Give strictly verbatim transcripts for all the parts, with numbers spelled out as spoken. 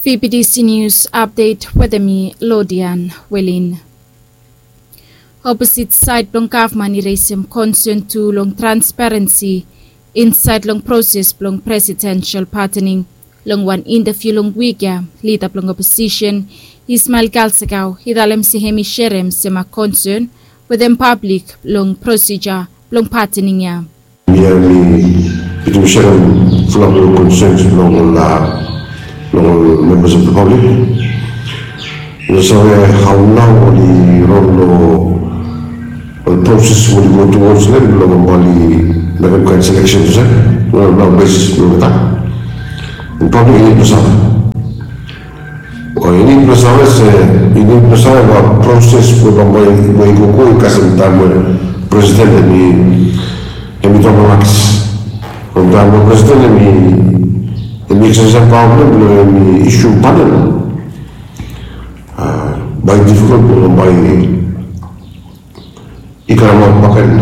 Fibidisi nius apdet wetem mi, Lodian Welin. Oposit saed blong gavman i resem konsen tu long transparensi insaed long proses blong presidensel patening. Long wan intaviu long wik ya, lida blong oposisen Ismael Kalsakau i talem se hem i serem sema konsen wetem pablik long prosija blong patening ya. Ia mi bitim serem fulap long konsens blong ol long ol membas of the public. Yu save hau nau oli rong long ol proses oli go towards long ol oli mekem kain selection se long nau besis blong olgeta. Pablik i nid blong save. O i nid blong save se i nid blong save ol proses we bambae we i go go i kasem taem we presiden em i em i tok long aks. From taem we presiden em i em i eksesaes paoa blong em blong em i isu panen. Bae i difikol blong bae i karemaot bakegen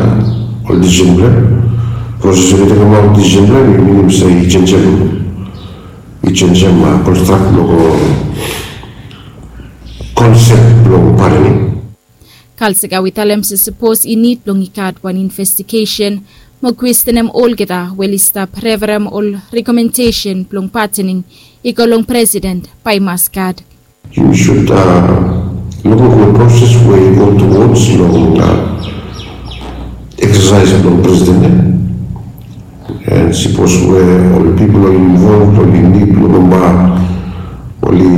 ol disisen blong em. Proses we i tekemaot disisen blong em i minim se i jenisim i jenisim konstrak blong konsep blong panening. Kalsakau i talem se sapos i nid blong i gat wan investigesen mo kwestenem olgeta we oli stap referem ol rekomendesen blong patening i go long presiden bae i mas gat. Yu sud lukluk long proses we i go towards long eksesaes blong presiden ya. And sapos we ol pipol oli involved oli nid long bambae oli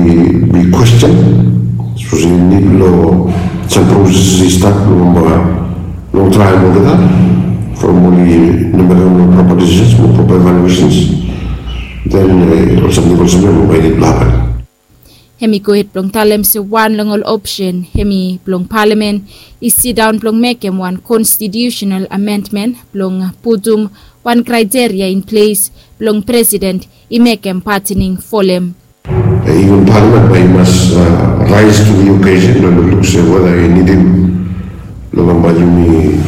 bi kwesten. Sapos oli nid long sam proses i stat long bambae long traem olgeta from oli no mekem long proper decisions mo proper evaluations. Then ol samting olsem ya bambae i nid blong hapen. Hem i gohed blong talem se wan long ol opsen hem i blong palamen i sidaon blong mekem wan konstitiusenal amendmen blong putum wan kraeteria in ples blong presiden i mekem patening folem. Iven palamen bae i mas raes tu di okesen blong lukluk se weda i nidim long bambae yumi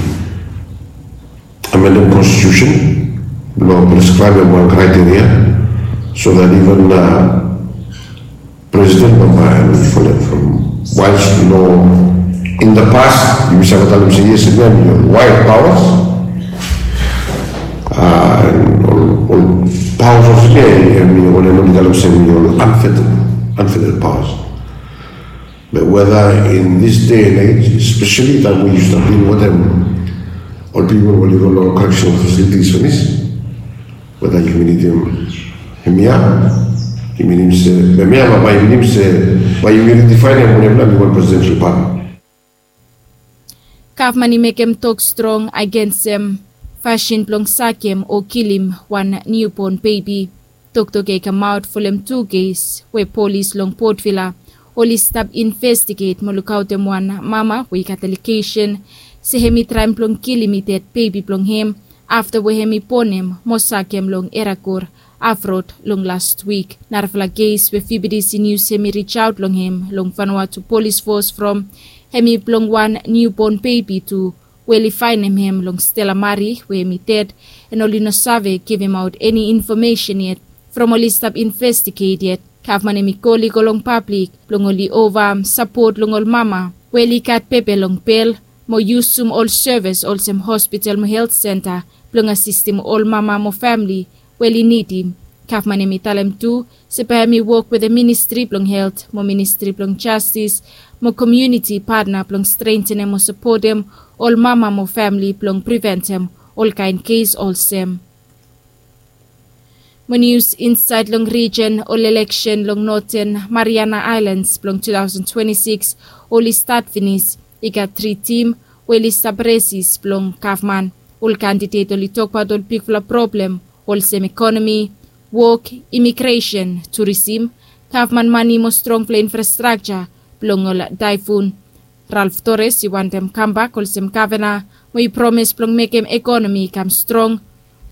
amendem konstitusen blong preskraebem wan kraeteria so that iven presiden bambae em i folem from waes long in the past yumi save talem se yes em ya em i ol waed paoas. Ol paoas olsem ya em i wanem oli talem se em i ol anfetel anfetel paoas. Be weda in this day and age especially taem we yu stap dil wetem ol pipol we oli go long correctional facilities finis, weda yumi nidim hemia yumi nidim se hemia bae yumi nidim se bae yumi ridifaenem wanem nao mi wan presidensel pat. Gavman i mekem tok strong agensem fasin blong sakem o kilim wan niubon bebi. Toktok ya i kamaot folem tu kes we polis long Port Vila oli stap investiget mo lukaotem wan mama we i gat alegesen se hem i traem blong kilim i ded bebi blong hem afta we hem i bonem mo sakem long Eragur afrod long last wik. Narafala kes we Fibidisi Nius hem i rijaot long hem long Vanuatu Polis Fos from hem i blong wan niubon bebi tu we oli faenem hem long Stella Marie we hem i ded, and oli no save givemaot eni infomesen yet from oli stap investiget yet. Gavman hem i kol i go long pablik blong oli ova sapot long ol mama we oli gat pepe long bel mo yusum ol sevis olsem hospital mo helt senta blong asistem ol mama mo famili we oli nidim. Gavman hem i talem tu se bae hem i wok wetem ministri blong helt mo ministri blong jastis mo komiuniti patna blong strentenem mo sapotem ol mama mo famili blong priventem olkaen kes olsem. Mo nius insaed long rijen, ol eleksen long Noten Mariana Aelans blong tu taosen twenti sikis oli stat finis. I gat tri tim we oli stap resis blong gavman. Ol kandidet oli tokbaot ol bigfala problem olsem ekonomi, wok, imigresen, turisim, gavman mane mo strongfala infrastrakja blong ol taefun. Ralf Tores i wantem kambak olsem gavana mo i promes blong mekem ekonomi i kam strong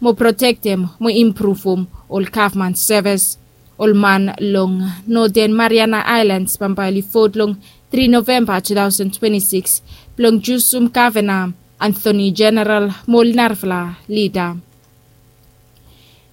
mo protektem mo impruvum ol gavman sevis. Ol man long Noten Mariana Aelans bambae oli vot long tri Novemba tu taosen twenti sikis blong jusum gavana, Antoni Jeneral mo ol narafala lida.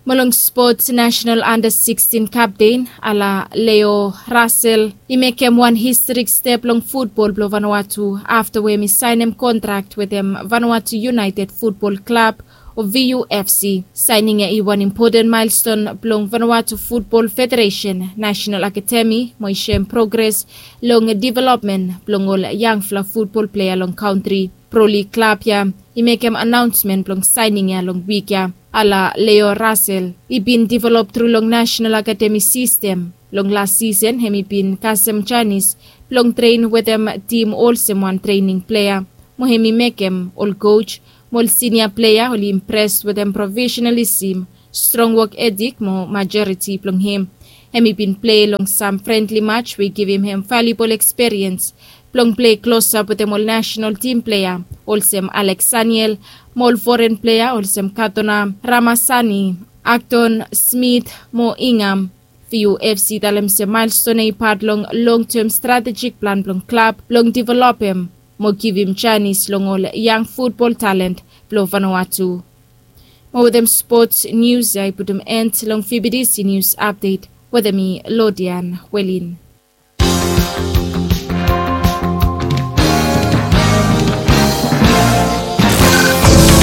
Mo long spots, national under sixteen kapten Ala Leo Russell i mekem wan historik step long futbol blong Vanuatu afta we hem i saenem kontrak wetem Vanuatu United Futbol Klab o V U F C. Saening ya i wan impoten maelston blong Vanuatu Futbol Federesen Nasenal Akademi mo i soem progres long developmen blong ol yangfala futbol plea long kantri. Pro Lig klab ya i mekem anaonsmen blong saening ya long wik ya. Ala Leo Russell i bin develop tru long Nasenal Akademi sistem. Long las sisen hem i bin kasem janis blong tren wetem tim olsem wan trening plea mo hem i mekem ol koj mo ol sinia plea oli impres wetem profesenalisem, strong wok etik mo majoriti blong hem. Hem i bin plei long sam frendli maj we i givim hem valubol eksperiens blong plei klosap wetem ol nasenal tim plea olsem Alex Saniel mo ol foren plea olsem Katona Ramasani, Akton Smith mo Ingam. V U F C i talem se maelston ya i pat long longtem stratejik plan blong klab blong developem mo givim janis long ol yang futbol talen blong Vanuatu. Mo wetem spots nius ya i putum en long V B T C nius apdet wetem mi, Lodian Welin.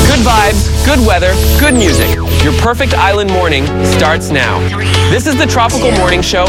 Good vibes, good weather, good music. Your perfect island morning starts now. This is the Tropical Morning Show